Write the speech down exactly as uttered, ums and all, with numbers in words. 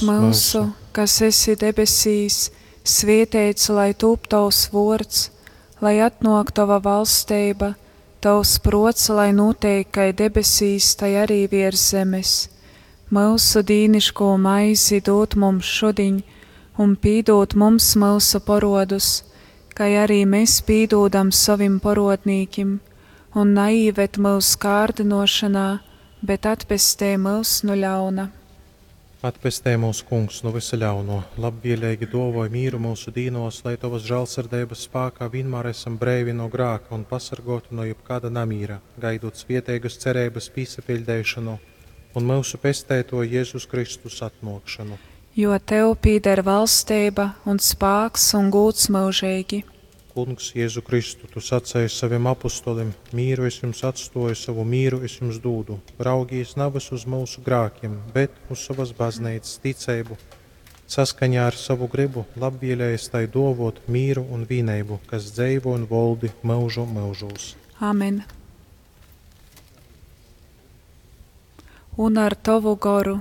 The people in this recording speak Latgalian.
Myusu, kas esi debesīs, svēteits lai tūp tovs vuords, lai atnuok tova valsteiba, tovs pruots lai nūteik kai debesīs, tai arī viers zemes. Myusu dīniškū maizi dūd mums šudiņ, un pīdūd mums myusu poruodus, kai arī mes pīdūdam sovim poruodnīkim, un naīved myus kārdynuošonā, bet atpestej myus nu ļauna. Atpestej mūs, Kungs, nu vysa ļauno, labvieleigi duovoj mīru myusu dīnuos, lai tovas žālsirdeibas spākā vīnmār esam breivi no grāka un pasargōti no jebkāda namīra, gaidūt svieteigas cereibas pīsapiļdeišonu un myusu Pesteituoja Jezus Kristus atnuokšonu. Jo tev pīder valsteiba un spāks un gūds myužeigi. Kungs, Jēzu Kristu, tu saceji sovim apustolim: Mīru es jums atstuoju, sovu mīru es jums dūdu. Raugīs navys uz myusu grākim, bet uz sovas bazneicas ticeibu. Saskaņā ar sovu grybu labvielējies tai duovuot mīru un vīneibu, kas dzeivo un voldi myužu myužūs. Amen. Un ar tovu goru.